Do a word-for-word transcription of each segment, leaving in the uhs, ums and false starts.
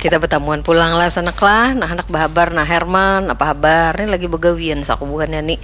Kita batamuan pulang lah sanak lah. Nah, handak bahabar. Nah, Herman, apa habar? Ni lagi bagawian saku buhannya ni.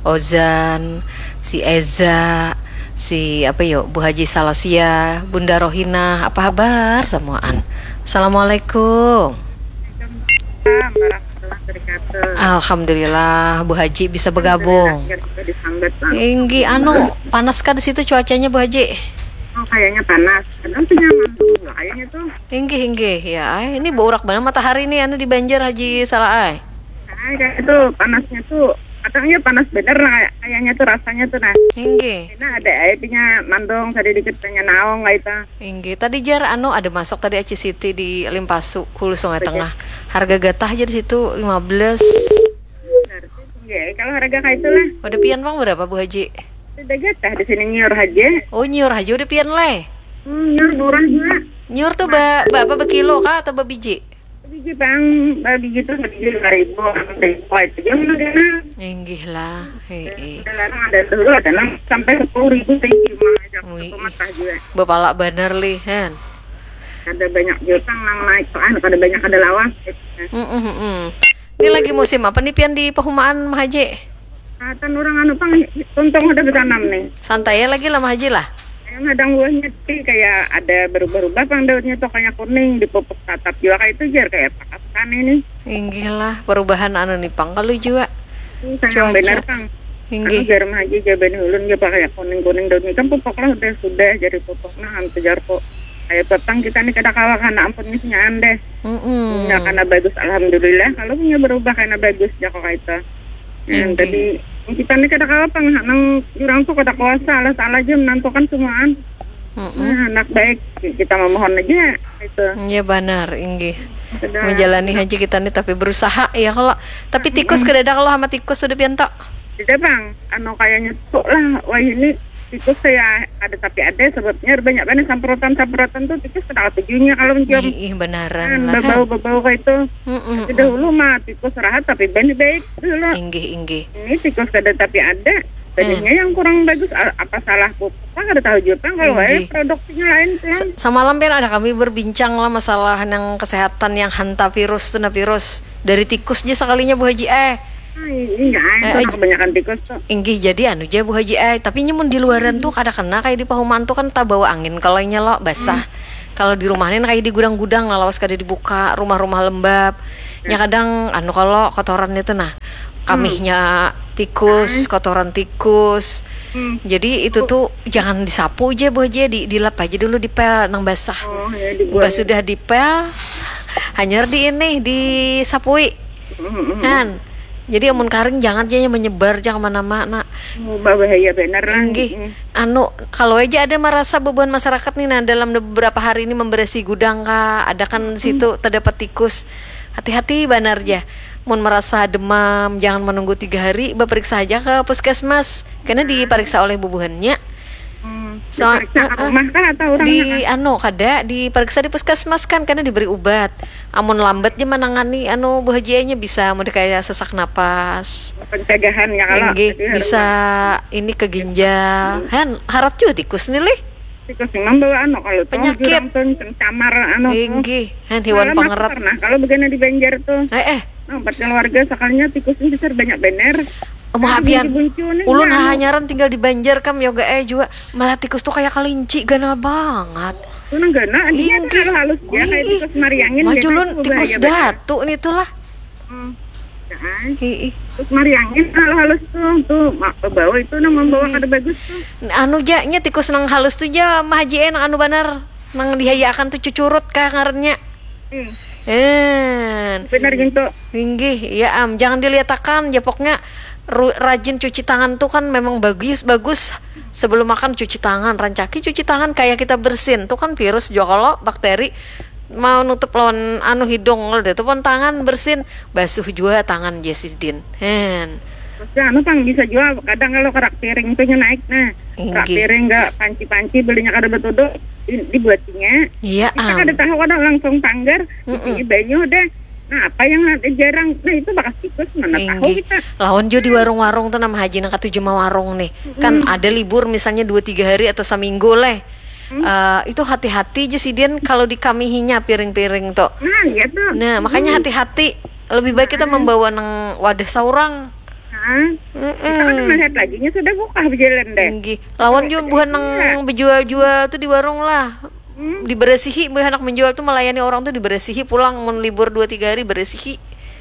Ozan, si Eza, si apa yo, Bu Haji Salasia, Bunda Rohina, apa habar samuaan? Assalamualaikum. Waalaikumsalam warahmatullahi wabarakatuh. Alhamdulillah, Bu Haji bisa bergabung. Akhirnya kita disambat lah. Inggi, anu, panas kah di situ cuacanya, Bu Haji? Oh, kayaknya panas. Kadang punya manggung juga kayaknya tuh. Inggih, inggih. Ya, ai, ini beurak banar matahari nih, anu, di Banjar, Haji Salah ai. Nah, kayak itu panasnya tuh. Kadang ya panas bener lah kayak- kayaknya tuh rasanya tuh nah. Inggih. Nah, ada aja punya mandong tadi dikit punya naong lah itu. Inggih. Tadi jar anu ada masuk tadi Aci Siti di Limpasu, Hulu Sungai Tengah. Harga gatah aja di situ lima belas. Benar sih. Ya, kalau harga kayak itulah. Udah pian pang berapa, Bu Haji? Sudah gatah di sini nyiur aja. Oh, nyiur aja udah pian leh. Hmm, nyiur murah juga. Nyiur tuh ba, ba apa, bekilo kah atau babiji? Biji bang, biji tuh biji lima ribu, enam ribu aja dia mah dia. Inggih lah. Heeh. Sekarang ada dulu ada enam sampai sepuluh ribu sih cuma aja Wih. Pematah juga. Bepala banar lih, hen. Ada banyak jutang nang naik tuh, ah, ada banyak ada lawas gitu. Mm-mm, mm-mm. Ini lagi musim apa nih pian di Pahumaan, Mah Haji? Katan orang anu pang tuntung udah bertanam nih. Santai ya lagi lah, Mah Haji lah. Yang hadang buahnya tapi kayak ada berubah-ubah pang daunnya tuh kayak kuning, dipupuk tatap juga kayak itu jar kayak pakas kan ini. Inggih lah, perubahan anu nih pang kalau juga. Ini sayang Cuaca. Benar pang. Anu Inggih. Jar Mah Haji jar bani ulun jar pakai kuning-kuning daunnya kan pupuk lah udah sudah jadi pupuk nah anu jar kok. Kayak petang kita nih kada kawa karena ampun isinya deh. Mm-mm. Punya karena bagus alhamdulillah kalau punya berubah karena bagus ya kok itu. Nah, Inggih. Tadi kita nih kada kawa pang nang jurang tuh kada kuasa salah salah aja menentukan semuaan. Mm-mm. Nah, anak baik kita memohon aja itu. Iya banar, inggih. Sudah. Menjalani haji kita nih tapi berusaha ya kalau. Tapi tikus kada ada kalau sama tikus sudah pian tok. Tidak bang, anu kayaknya tuh lah wah ini tikus saya ada tapi ada sebabnya banyak banget samprotan-samprotan tuh tikus kada tujunya kalau mencium Ih, ih, benaran kan lah. bebau-bebau kayak itu. Mm-mm. Tapi dahulu mah tikus rahat tapi bani baik dulu. Inggih, inggih. Ini tikus kada tapi ada. Tadinya yang kurang bagus a- apa salah pupuk lah kada tahu juga kan kalau Inggih. wae produksinya lain kan. Sa- Samalam pian ada kami berbincang lah masalah yang kesehatan yang hantavirus, hantavirus dari tikus aja sekalinya, Bu Haji eh. Ah, ini enggak ada Eh, kebanyakan tikus tuh. Inggih, jadi anu ja, Bu Haji ai, tapi nyamun di luaran tuh kada kena kayak di Pahumaan tuh kan tabawa angin kalau inya lo basah. Kalau di rumah nih kayak di gudang-gudang lah lawas kada dibuka, rumah-rumah lembab. Nya kadang anu kalau kotoran itu nah, kamihnya tikus, kotoran tikus. Hmm. Jadi itu tuh jangan disapu aja, Bu Haji, di dilap aja dulu, dipel nang basah. Oh ya dibuat. Pas sudah dipel, hanyar di ini, disapui. Mm-mm. Han. Jadi amun karing jangan aja menyebar aja kemana-mana. Oh, bahaya benar lah. Inggih. Mm. Anu, kalau aja ada merasa beban masyarakat nih, nah dalam beberapa hari ini memberesi gudang kah, ada kan situ terdapat tikus. Hati-hati banar aja. Mun merasa demam, jangan menunggu tiga hari, beperiksa aja ke puskesmas. Karena diperiksa oleh bubuhannya. Hmm. Soal- Diperiksa ke eh, eh. Rumah kah atau orang Di anu kada, diperiksa di puskesmas kan, karena diberi ubat. Amun lambat aja menangani anu, Bu Haji, nya bisa mun kayak sesak napas. Pencegahan ya kalau Inggih, jadi harus bisa ini ke ginjal. Han, harat juga tikus nih lih. Tikus memang bawa anu kalau tuh Penyakit. Jurang tuh pencamar anu tuh. Inggih, han hewan Malam aku pangerat. Pernah kalau begini di Banjar tuh. Eh eh, Nah, empat keluarga sekalinya tikus ini besar banyak bener. Mau hapian. Buncu nih. Ulun Nah, hahanyaran tinggal di Banjar kam yoga eh juga. Malah tikus tuh kayak kelinci, ganal banget. Tuh nang gana, dia Inggih. kan halus dia kayak Wih, tikus mariangin. maju Dia lun kan tikus bahaya banget. Datu nih tuh lah. Hmm. Ya, kan? Hiih. Terus mariangin halus-halus tuh, tuh mak bawa itu nang membawa Inggih. Kada bagus tuh. Anu ja, nya tikus nang halus tuh ja, Mah Haji eh, nang anu banar, nang dihayaakan tuh cucurut kah ngarannya. Hmm. En. Benar gitu. Inggih, ya am, jangan diliatakan, japoknya ru- rajin cuci tangan tuh kan memang bagus, bagus. Sebelum makan cuci tangan, rancaki cuci tangan kayak kita bersin tuh kan virus juga kalau bakteri mau nutup lawan anu hidung, kalau ditutupan tangan bersin, basuh juga tangan Jesidin. Hen. Terus anu pang bisa juga kadang kalau kerak piring tuh nya naik nah. Kerak Inggih. Piring enggak panci-panci belinya kada betudu di- dibuatinya. Iya Kita am. Kada tahu kadang langsung tanggar, Mm-mm. di banyu deh. Nah, apa yang ada jarang? Nah, itu bakas tikus mana tahu Inggih. Kita. Lawan juga di warung-warung tuh nama haji nang katuju mawarung nih. Kan ada libur misalnya dua tiga hari atau seminggu leh. Eh, itu hati-hati ja sidin kalau dikamihinya piring-piring tu. Nah, iya tuh. Nah, makanya hati-hati. Lebih baik kita membawa nang wadah saurang. Nah, kita kan melihat lagi nya sudah buka berjalan deh. Inggih. Lawan jua buhan nang bejual-jual tu di warung lah. Diberesihi, buhan handak menjual tu melayani orang tu diberesihi pulang mun libur dua tiga hari beresihi.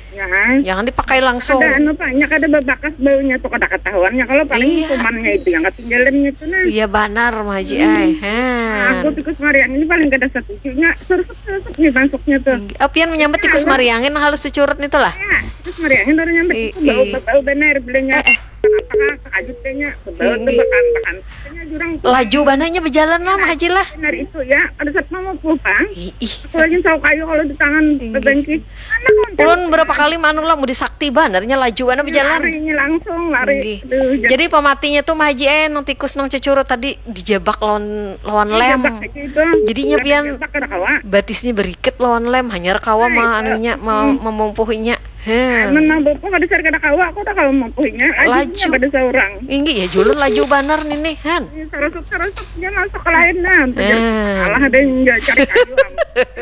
Ya kan? Jangan dipakai langsung. Ada anu pak, nya kada babakas baunya tuh kada ketahuannya kalau paling Iya. Kumannya itu yang ketinggalannya tuh nah. Iya banar Mah Haji ai. Nah, Hen. aku tikus mariang ini paling kada setuju nya serusuk-serusuk nih masuknya tuh. Apian menyambat tikus mariangin halus cucurut nih tuh lah. Ya, tikus mariangin orang nyambat I- itu bau i- bau benar bilanya. Eh, eh. Apakah kajut kayaknya bau tuh Tinggi. bekan bekan. Kayaknya jurang tuh. Laju bananya bejalan lah Mah Haji lah. Benar itu ya, ada satpam mau pulang. Ih, ih. Aku lagi sauk kayu kalau di tangan Tinggi. bebengki. Anak konten. Ulun berapa kali manu lah mau disakti banarnya laju banana bejalan. Larinya langsung lari. Tinggi. Aduh, jangan Jadi pematinya tuh Mah Haji eh nang tikus nang cucurut tadi dijabak lawan lawan lem. Jabak aja itu. Jadinya Kada pian jabak kada kawa. Batisnya berikit lawan lem hanyar kawa Nah, mah itu. Anunya ma- memumpuhinya. Hen. Amun mau bopong kada sar kada kawa, aku udah kalau mempuhinya. Laju. Lajunya pada seorang. Inggi ya julun laju banar nini han. Sarusuk-sarusuk dia masuk ke lain nah. Eh. Alah ada yang cari kayu.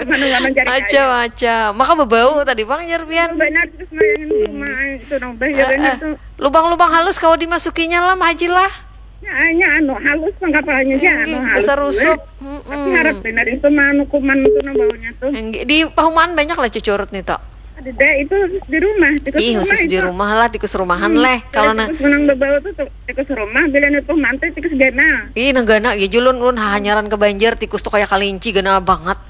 Mana-mana cari kayu. Macam-macam. Maka bebau tadi bang jar pian. Banyak terus ngayangin rumah itu dong. Bahayanya Eh, eh. tuh. Lubang-lubang halus kau dimasukinya lah Mah Haji lah. Ya, hanya anu halus pang kapalanya aja Inggi, anu halus. Besar rusup. Tapi harap benar itu mah anu kuman itu nang baunya tuh. Inggi, di pahumaan banyak lah cucurut nih tok. Ada deh itu di rumah. Tikus Ih, rumah khusus di itu. Rumah lah, tikus rumahan leh. Kalau nang Tikus menang bebau tuh tuh, tikus rumah bila itu mantai tikus ganal. Ih, nang ganal ya julun ulun hahanyaran ke Banjar tikus tuh kayak kalinci ganal banget.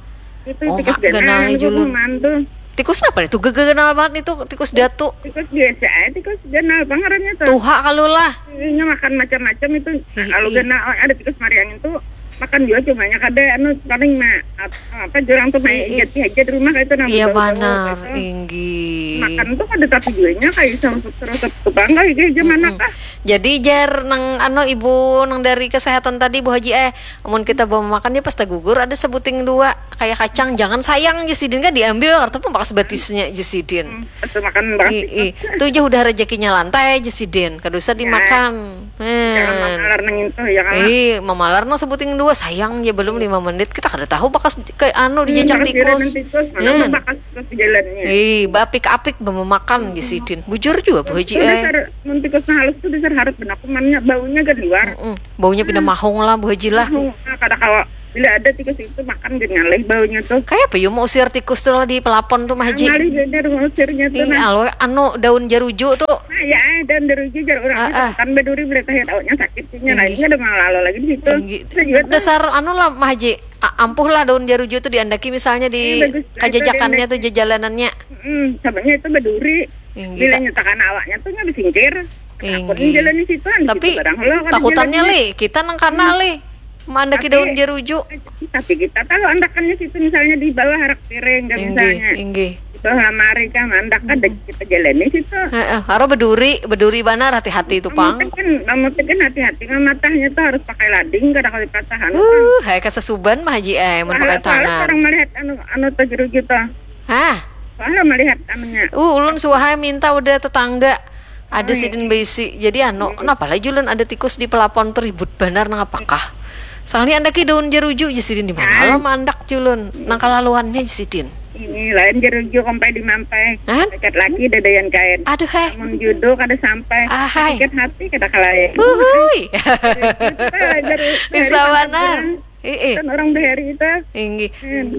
Itu Oh, tikus mak, ganal. ganalnya Anu julun. kuman tuh. Tikus apa nih? Tuh ganal banget nih tuh, tikus datu. Tikus biasa aja, tikus ganal pangarannya tuh. Tuha kalau lah. Ini makan macam-macam itu. Ih, Kalau ih. ganal ada tikus mariangin tuh makan juga cumanya kada anu paling mah ap- apa jurang tuh main Ih, ih. Jati aja di rumah kayak itu nang Iya bau-bau banar, gitu. Inggi. Makan tuh kada tapi juanya kayak sama terus tukang kali kayak zaman Mm-mm. Jadi jar nang ano ibu nang dari kesehatan tadi Bu Haji eh, amun kita bawa makan ya pasta gugur ada sebuting dua kayak kacang jangan sayang ya sidin kan diambil kartu pembakas batisnya aja sidin. Atau makan beras I, i. Tuh jauh udah rezekinya lantai aja sidin, kada usah dimakan. Jangan Hmm. mamalar nang itu ya kan. Eh, mamalar nang sebuting dua sayang ya belum lima menit kita kada tahu bakas ke anu dijajak Bekas tikus. Tikus, mana Hmm. bekas tikus di jalannya. Eh, bapik-apik memakan di sidin. Bujur juga Bu Haji Itu eh. dasar mun tikus nah halus tuh dasar harus benar kumannya baunya kan liwar. Mm-mm. Baunya pindah mahong lah Bu Haji lah. Nah, kada kawa bila ada tikus itu makan gini ngalih baunya tuh. Kayak apa yo mau usir tikus tuh lah di pelapon tuh Mah Haji. Ngalih beda ngusirnya tuh Ini nah. Alo anu daun jaruju tuh. Nah, ya, dan deruji jar orang Ah, ah. Kan beduri boleh tahu tahunya sakit punya lain Tinggi. Ada malah lagi di situ. Tinggi. Itu juga tuh. Dasar anu lah Mah Haji. A- ampuh lah daun jaruju tuh diandaki misalnya di Iya, bagus. kajajakannya tuh jajalanannya. Hmm, sabanya itu beduri. Tinggi, Bila tak- nyatakan awaknya tuh nggak disingkir. Tinggi. Takut jalan di situ kan Tapi gitu, barang lo, kada takutannya jalan. Li, kita nang kana Li. Mandaki daun jaruju. Tapi kita tahu andakannya situ misalnya di bawah harak piring kan Inggih, misalnya. Inggih. Di bawah lamari kan andak ada kita jalani situ. Heeh, haro beduri, beduri banar hati-hati itu pang. Kan, namun kan hati-hati kan matahnya tuh harus pakai lading kada kali patahan. Uh, hai kasasuban Mah Haji eh mun pakai Soalnya tangan. Orang melihat anu anu tuh jeruju tuh. Hah? Soalnya melihat anunya. Uh, ulun suahai minta udah tetangga. Ada sidin beisi. Jadi anu, kenapa lah julun ada tikus di pelapon tuh ribut banar nang apakah? Soalnya andaki daun jeruju je sidin di mana lah mandak julun. Nang kalaluannya je sidin. Ini lain jeruju kompai di mampai. Hah? Dekat lagi dadayan kain. Aduh hai. Mun judo kada sampai. Ahai. Sakit hati kada kalayan. Uhui. Kita jeru- Bisa dari banar. Tangerang. Ih, ih. Kan orang bahari itu. Inggih.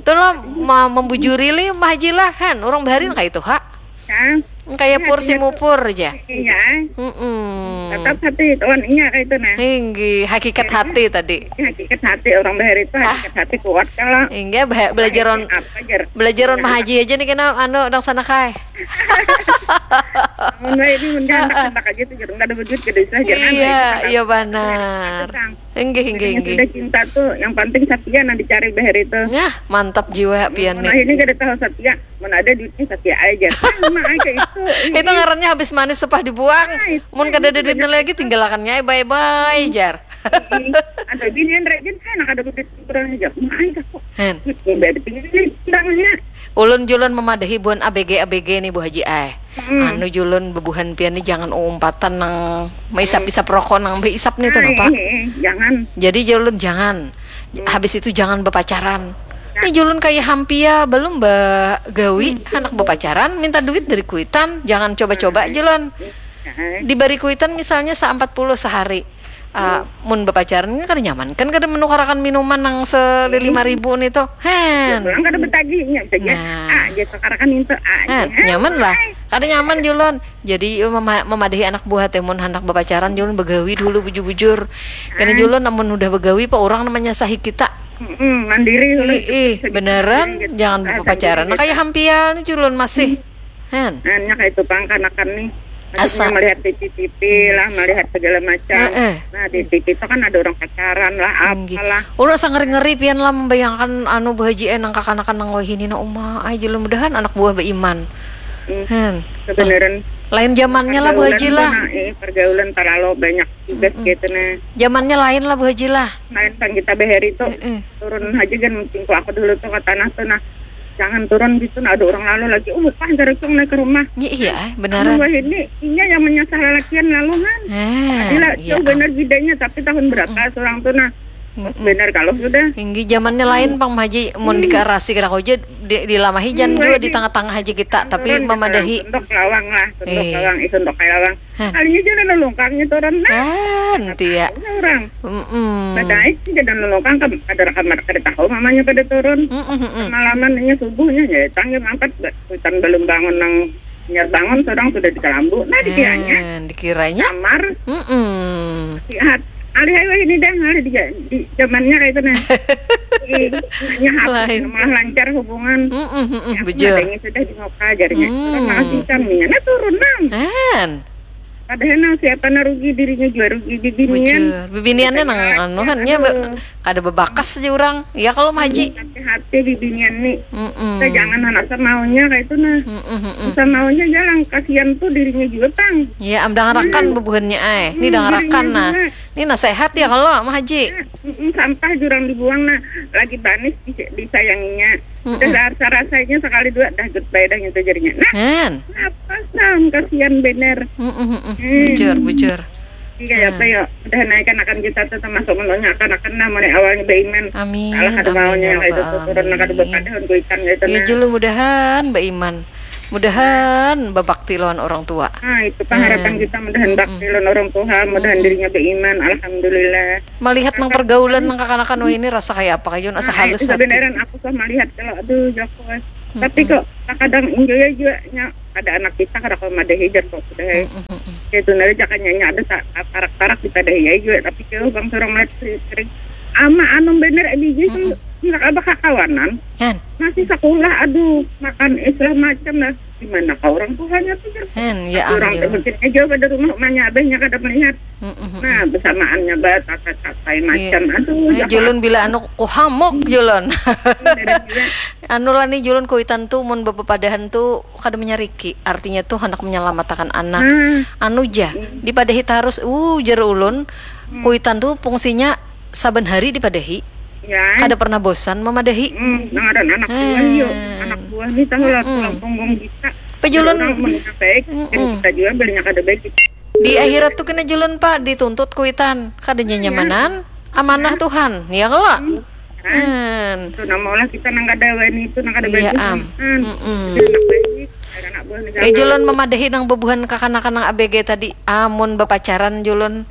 Tuh lah ma- membujuri li Mah Haji lah han. Orang bahari kayak itu ha. Kan? Kayak pur si mupur aja. Iya. Mm-mm. Tetap hati tuan iya kayak itu nah. Inggih, hakikat hati tadi. Hakikat hati orang bahari itu hakikat hati kuat kalau. Inggih, bah- belajaran Apa jar? belajaran Mah Haji aja nih kena anu dang sana kai. Mun wae ini mun handak handak aja tuh jar kada ada duit kada usah jar. Iya, iya banar. Inggih, inggih, Yang inggih. Sudah cinta tuh yang penting setia nah dicari bahari itu. Nah, mantap jiwa pian Nah nih. Ini kada tahu setia. Mun ada duitnya setia aja. Sama aja itu. Itu ngarannya habis manis sepah dibuang. Ah, itu Mun kada ada duitnya lagi tinggalakannya bye bye jar. Ada binian rajin kan ada duit kurang aja. Mah aja kok. Hen. Udah ada pilihan bilangnya. Ulun julun memadahi buhan A B G A B G nih Bu Haji ai. Anu julun bebuhan pian nih jangan uumpatan nang maisap-isap rokok nang beisap nih tuh napa. Eh, eh, jangan. Jadi julun jangan. Habis itu jangan bepacaran. Ini julun kaya hampia, belum bagawi, handak bepacaran, minta duit dari kuitan, jangan coba-coba julun. Dibari kuitan misalnya sa empat puluh sehari. Ah, mun bepacaran kan kada nyaman, kan kada menukarakan minuman nang selili lima ribu nih tuh. Hen. Pulang kada betagihnya saja. Nah. Ah, dia tukarakan itu ah. Hen, nyaman lah. Kada nyaman julun. Jadi mema- memadahi anak buah teh mun handak bepacaran julun begawi dulu bujur-bujur. Kena julun namun udah begawi pa orang namanya sahi kita. Mm-mm, mandiri. Ih, ih, beneran jangan bepacaran. Nah, kayak hampia nih julun masih. Hen. Nah, nya kayak itu pang kanakan nih. Asa. Maksudnya melihat T V T V lah, melihat segala macam. Heeh. Nah, di T V itu kan ada orang pacaran lah, apalah. Ulun asa ngeri-ngeri pian lah membayangkan anu Bu Haji eh nang kakanakan nang wahini na uma. Ai julun mudahan anak buah beiman. Hmm. Hen. Kebenaran. Lain zamannya lah Bu Haji lah. Nah, eh, pergaulan terlalu banyak juga gitu nah. Zamannya lain lah Bu Haji lah. Lain pang kita bahari tuh. Heeh. Turun aja kan mungkin aku dulu tuh ke tanah tuh nah. Jangan turun gitu nah ada orang lalu lagi. Oh, lupa jarak tuh naik ke rumah. Iya, iya, beneran. Anu wahini inya yang menyasar lalakian lalu kan. Adila iya, jauh bener bedanya tapi tahun berapa seorang tuh nah. Bener kalau sudah. Tinggi zamannya lain pang Haji mun dikarasi kena aja di, dilamahi jan juga di tengah-tengah aja kita tapi memadahi. Tunduk lawang lah, tunduk lawang, eh, tunduk lawang. Kalinya jangan lelungkangnya turun nah. Kan, tia. Orang. Mm-mm. Badai sih jangan lelungkang ke ada kamar kada tahu mamanya pada turun. Mm-mm, mm-mm. Malaman ini subuhnya ya tangga mangkat hutan belum bangun nang nyar bangun seorang sudah di kalambu. Nah dikiranya. Kan, dikiranya. Kamar. Mm-mm. Lihat. Alih ayo ini dah ngalih di, di zamannya kayak itu nah. Di, lain. Malah lancar hubungan. Mm-mm, mm-mm, ya, bujur. Sudah di muka jarinya. Hmm. Makasih kaminya. Nah turun nang. Kan. Padahal nang siapa na rugi dirinya juga rugi bibinian. Bujur. Bibiniannya nang anuhannya kada bebakas aja orang. Ya kalau Haji. Hati-hati bibinian nih. Mm-mm. Kita jangan anak semaunya kayak itu nah. Mm-mm, mm-mm. Semaunya jalan kasihan tuh dirinya juga pang. Iya, am dangarakan bubuhannya ay. Ini dangarakan nah. Ini nasehat ya kalau Mah Haji. Mm-mm, sampah jurang dibuang nah. Lagi banis disayanginya. Udah rasa-rasanya sekali dua dah goodbye dah nyentuh jarinya. Nah, apa sam kasihan bener. Bujur, bujur. Iya apa ya? Udah naik akan kita tuh termasuk mendonya akan akan nah mulai awalnya beriman. Amin. Salah kada maunya ya itu tuh turun kada berpadahun kuitan gitu. Ya nah. Julu mudahan beriman. Mudahan babakti lawan orang tua. Nah, itu pengharapan kita mudahan bakti lawan orang tua, mudahan dirinya beriman. Alhamdulillah. Melihat nang pergaulan nang kakanakan wah ini rasa kayak apa kayak asa halus hati. Kebenaran aku tuh melihat kalau aduh jago. Tapi kok kadang enjoy aja nya ada anak kita kada kau madahi jar kok sudah. Itu nari jakanya nya ada parak-parak kita dah ya juga tapi jauh bang orang melihat sering ama anu bener biji tuh nggak ada kakawanan. Masih sekolah aduh makan istilah macam lah. Di mana kau orang tuanya tuh jar. Hen, ya orang teh mungkin aja pada rumah emaknya abahnya kada melihat. Nah, bersamaannya ba tata-tatai macam aduh. Julun bila anu kuhamuk julun. Anu lah nih julun kuitan tuh mun bepepadahan tuh kada menyariki. Artinya tuh hendak menyelamatkan anak. Anu ja, dipadahi tarus uh jar ulun. Kuitan tuh fungsinya saban hari dipadahi. Ya. Kada pernah bosan memadahi. Hmm, nang ada anak buah yuk. Anak buah nih tahu lah tulang punggung kita. Pejulun. Orang mun baik, dan kita juga belinya kada baik. Di akhirat tuh kena julun pak dituntut kuitan kada nyamanan amanah Tuhan ya kalo. Hmm. Itu nama olah kita nang kada wani itu nang kada baik. Iya am. Anak baik. Eh julun memadahi nang bebuhan kakanakan nang A B G tadi amun bepacaran julun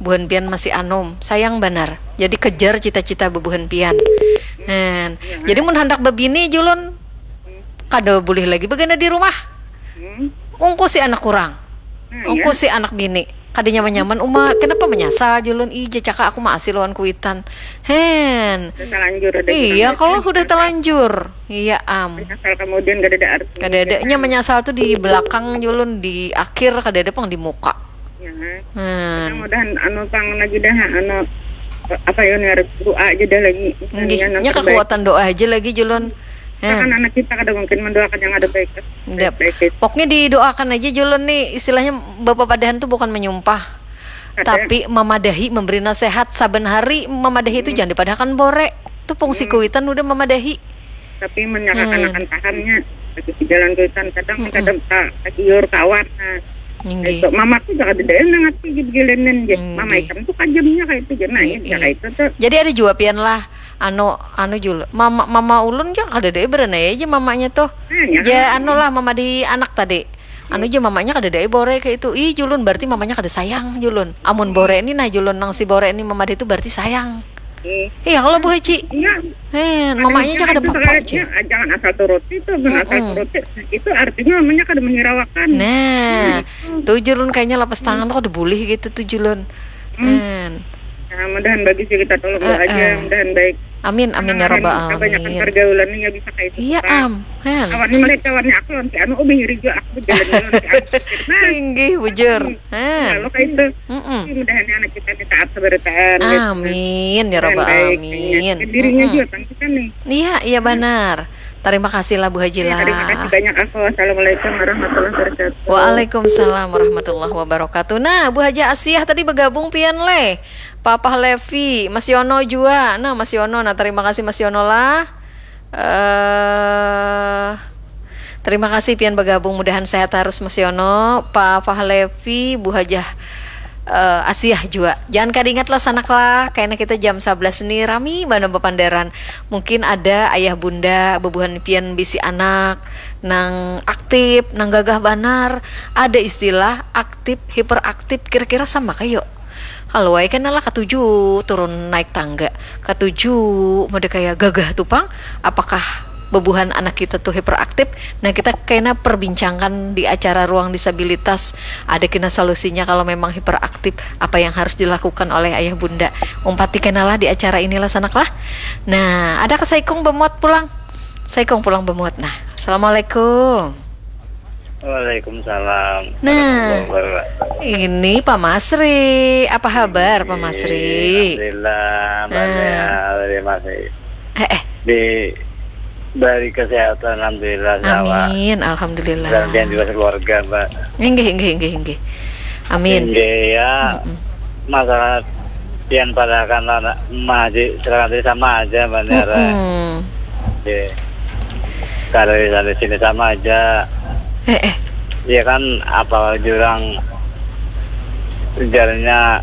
buhan pian masih anum sayang banar jadi kejar cita-cita bebuhan pian. Nah, jadi mun handak bebini julun kada boleh lagi begana di rumah. Ungkusi anak kurang. Ungkusi anak bini. Kada nyaman-nyaman uma kenapa menyasal julun ih jacaka aku maasi lawan kuitan. Hen. Iya kalau sudah telanjur. Iya am. Menyasal kemudian kada ada arti. Kada ada nya menyasal tuh di belakang julun di akhir kada ada pang di muka. Ya. Hmm. Mudah-mudahan anu pang lagi dah anu apa ya nih harus doa aja dah lagi. Nggih, nya kekuatan doa aja lagi julun. Kan anak kita kada mungkin mendoakan yang ada baik. Pokoknya didoakan aja julun nih istilahnya bapak padahan tuh bukan menyumpah. Tapi memadahi memberi nasihat saban hari memadahi itu jangan dipadahakan bore. Itu fungsi kuitan udah memadahi. Tapi menyakanakan pahamnya bagi jalan kuitan kadang kadang tak kajiur kawat. Nah, itu mamaku juga ada daya nang ngerti gitu gilenen je. Mama ikan tuh kajamnya kayak itu je. Nah, ya kayak itu tuh. Jadi ada juga pian lah Anu, anu Jul, mama, mama ulun ja kadada ai berenai aja mamanya tuh. Nah, ya Ja, kan? Anu lah, mama di anak tadi. Anu ja mamanya kadada ai bore kayak itu. Ih, Julun, berarti mamanya kada sayang, Julun. Amun bore ini nah, Julun, nang si bore ini mama itu berarti sayang. Eh, Iya, kalau Bu Haji. Iya. Hen, mamanya aja kada Itu apa-apa kayak, aja. Ya, jangan asal turuti tuh, jangan asal Mm-mm. turuti. Itu artinya mamanya kada menghiraukan. Nah, tuh Julun kayaknya lepas tangan tuh kada boleh gitu tuh Julun. Hen. Nah, mudahan bagus ya, kita tolong doa Eh, aja, eh. Mudahan baik. Amin, amin ya rabbal Kebanyakan alamin. Pergaulannya ya bisa kayak itu. Iya, Pak. Am. Hen. Kawan ini melihat kawannya aku nanti anu, oh, bingiri juga aku berjalan dulu nanti aku. Nah, Inggih, bujur. Hen. Lalu kayak itu. Mm-mm. Mudahan anak kita ini taat seberataan. Amin ya Dan rabbal baik, alamin. Dan dirinya Mm-mm. juga kan kita nih. Iya, iya benar. Terima kasih lah Bu Haji Ya, terima kasih lah. Banyak aku. Assalamualaikum warahmatullahi wabarakatuh. Waalaikumsalam warahmatullahi wabarakatuh. Nah, Bu Haji Asiah tadi bergabung pian leh. Papa Levi, Mas Yono jua. Nah, Mas Yono. Nah, terima kasih Mas Yono lah. Eh, terima kasih pian bergabung. Mudahan sehat terus Mas Yono, Papa Levi, Bu Hajah eh, Asiah jua. Jangan kada ingat lah sanak lah, kayaknya kita jam sebelas ni rami banar bapandaran. Mungkin ada ayah bunda, bebuhan pian bisi anak nang aktif, nang gagah banar. Ada istilah aktif, hiperaktif, kira-kira sama kayo. Kalau ai kena lah katuju turun naik tangga, katuju mode kaya gagah tu pang. Apakah bebuhan anak kita tu hiperaktif? Nah, kita kena perbincangkan di acara ruang disabilitas. Ada kena solusinya kalau memang hiperaktif, apa yang harus dilakukan oleh ayah bunda? Umpati kena lah di acara inilah sanak lah. Nah, ada ke Saikung bemuat pulang. Saikung pulang bemuat. Nah, assalamualaikum. Waalaikumsalam. Nah, ini Pak Masri. Apa kabar Pak Masri? Alhamdulillah, banyak terima kasih. Eh, eh. Diberi kesehatan, alhamdulillah. Amin, alhamdulillah. Dan pian juga keluarga, Mbak. Inggih, inggih, inggih, inggih. Amin. Inggih ya. Masalah pian padahakan lah, Mak Haji, silakan tadi sama aja, Mbak Nera. Mm-mm. Oke. Kalau di sana sini sama aja. Eh, eh. Ya kan, apa jurang, jarnya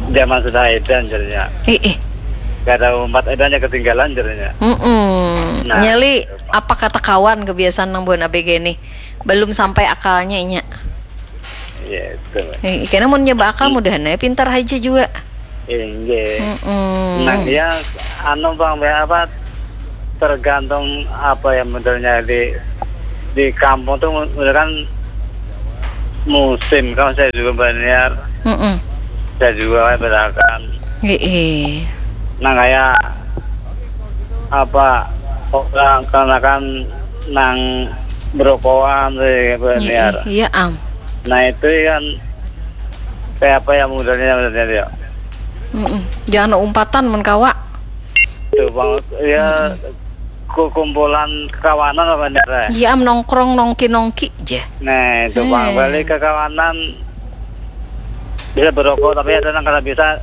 zaman sudah edan jarnya. Eh, eh. Kada umpat edannya ketinggalan jarnya. Mm-mm. Nah. Nyali, apa kata kawan kebiasaan nang buhan A B G nih? Belum sampai akalnya inya. Ya itu. Eh, kena mun nyoba akal mudahan ya pintar aja juga. Inggih. Mm-mm. Nah, ya, anu, Bang, ya, apa, tergantung apa ya modelnya di di kampung tuh, model kan musim, kalau saya juga Banjar, Mm-mm. saya juga kan berakan. Heeh. Nah, kayak apa, orang karena kan nang berokokan sih Banjar. Iya, iya, am. Nah, itu kan kayak apa ya modelnya, modelnya dia. Mm-mm. Jangan umpatan mun kawa. Itu, Bang, ya, ku- kumpulan kawanan apa nih, Re? Iya, am, nongkrong nongki-nongki je. Nah, itu, Bang, Hmm. balik ke kawanan, bisa berokok, tapi ada yang kada bisa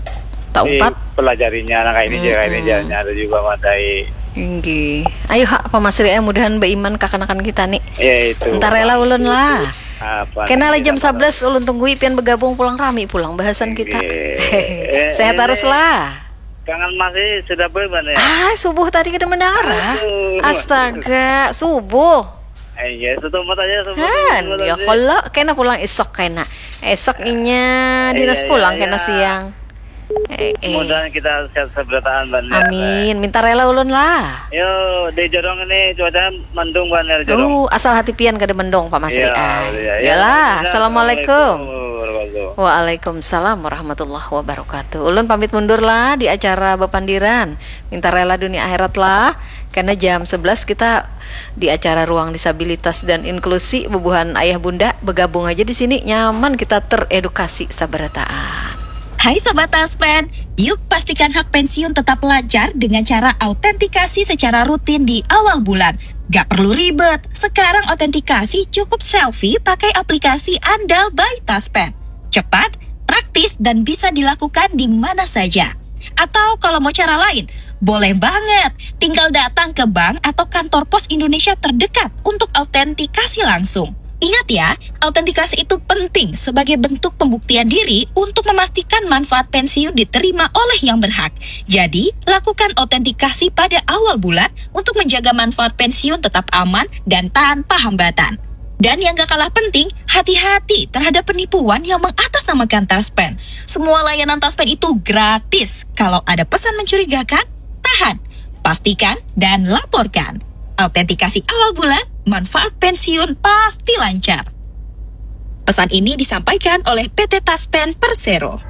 Tak umpat. pelajarinya, nah, kayak ini je, kayak ini Mm-mm. je, ada juga madai. Inggih. Ayo, ha, Pak Masri, eh, mudahan beiman kakanakan kita nih. Ya, itu. Entar rela ulun lah. Apa Kena lah nih, jam apa? sebelas ulun tunggui pian bergabung pulang rami pulang bahasan kita. Inggih. Eh, Sehat eh, terus lah. Kangen masih sudah boleh, Bang, ya? Ah, subuh tadi kada mendengar, ah. Aduh. Astaga, subuh. Eh, iya, setumat aja, setumat, Han, setumat ya aja. Kalau kena pulang esok kena. Esok inya dinas Iya, pulang iya, kena iya. Siang. Eh, eh. Mudahan kita sehat seberataan, Bang, ya. Amin. Minta rela ulun lah. Yo, di Jorong ini cuaca mendung, Bang, ya, Jorong. Uh, asal hati pian kada mendung, Pak Masri. Iya, Ah, iya, iya. Iyalah. Assalamualaikum. Warahmatullahi wabarakatuh. Waalaikumsalam warahmatullahi wabarakatuh. Ulun pamit mundur lah di acara bapandiran. Minta rela dunia akhirat lah. Karena jam sebelas kita di acara ruang disabilitas dan inklusi bubuhan ayah bunda bergabung aja di sini, nyaman kita teredukasi sabarataan. Hai Sobat Taspen, yuk pastikan hak pensiun tetap lancar dengan cara autentikasi secara rutin di awal bulan. Gak perlu ribet, sekarang autentikasi cukup selfie pakai aplikasi andal by Taspen. Cepat, praktis, dan bisa dilakukan di mana saja. Atau kalau mau cara lain, boleh banget. Tinggal datang ke bank atau kantor pos Indonesia terdekat untuk autentikasi langsung. Ingat ya, autentikasi itu penting sebagai bentuk pembuktian diri untuk memastikan manfaat pensiun diterima oleh yang berhak. Jadi, lakukan autentikasi pada awal bulan untuk menjaga manfaat pensiun tetap aman dan tanpa hambatan. Dan yang gak kalah penting, hati-hati terhadap penipuan yang mengatasnamakan Taspen. Semua layanan Taspen itu gratis. Kalau ada pesan mencurigakan, tahan, pastikan, dan laporkan. Autentikasi awal bulan, manfaat pensiun pasti lancar. Pesan ini disampaikan oleh P T Taspen Persero.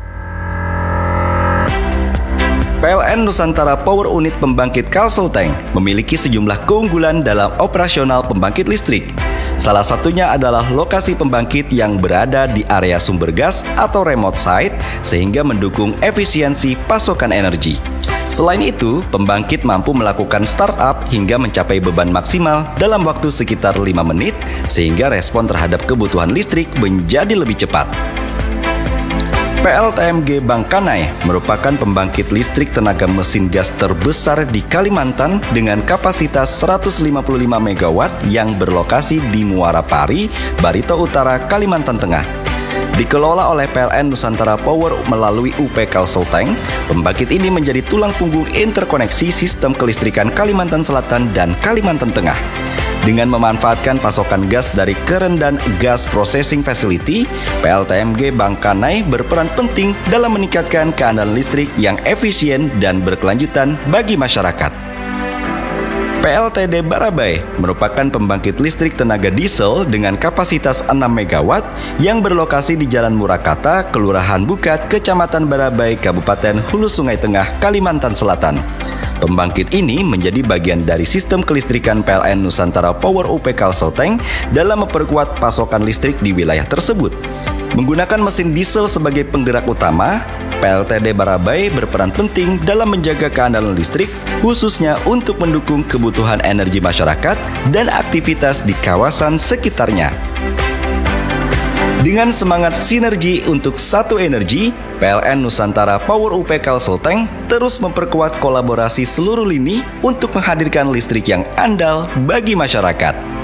P L N Nusantara Power Unit Pembangkit Kalsel Tank memiliki sejumlah keunggulan dalam operasional pembangkit listrik. Salah satunya adalah lokasi pembangkit yang berada di area sumber gas atau remote site sehingga mendukung efisiensi pasokan energi. Selain itu, pembangkit mampu melakukan startup hingga mencapai beban maksimal dalam waktu sekitar lima menit sehingga respon terhadap kebutuhan listrik menjadi lebih cepat. P L T M G Bangkanai merupakan pembangkit listrik tenaga mesin gas terbesar di Kalimantan dengan kapasitas seratus lima puluh lima megawatt yang berlokasi di Muara Pari, Barito Utara, Kalimantan Tengah. Dikelola oleh P L N Nusantara Power melalui U P Kalsel Tank, pembangkit ini menjadi tulang punggung interkoneksi sistem kelistrikan Kalimantan Selatan dan Kalimantan Tengah. Dengan memanfaatkan pasokan gas dari Kerendan Gas Processing Facility, P L T M G Bangkanai berperan penting dalam meningkatkan keandalan listrik yang efisien dan berkelanjutan bagi masyarakat. P L T D Barabai merupakan pembangkit listrik tenaga diesel dengan kapasitas enam megawatt yang berlokasi di Jalan Murakata, Kelurahan Bukat, Kecamatan Barabai, Kabupaten Hulu Sungai Tengah, Kalimantan Selatan. Pembangkit ini menjadi bagian dari sistem kelistrikan P L N Nusantara Power U P Kalsel Tank dalam memperkuat pasokan listrik di wilayah tersebut. Menggunakan mesin diesel sebagai penggerak utama, P L T D Barabai berperan penting dalam menjaga keandalan listrik, khususnya untuk mendukung kebutuhan energi masyarakat dan aktivitas di kawasan sekitarnya. Dengan semangat sinergi untuk satu energi, P L N Nusantara Power U P Kalsel Tank terus memperkuat kolaborasi seluruh lini untuk menghadirkan listrik yang andal bagi masyarakat.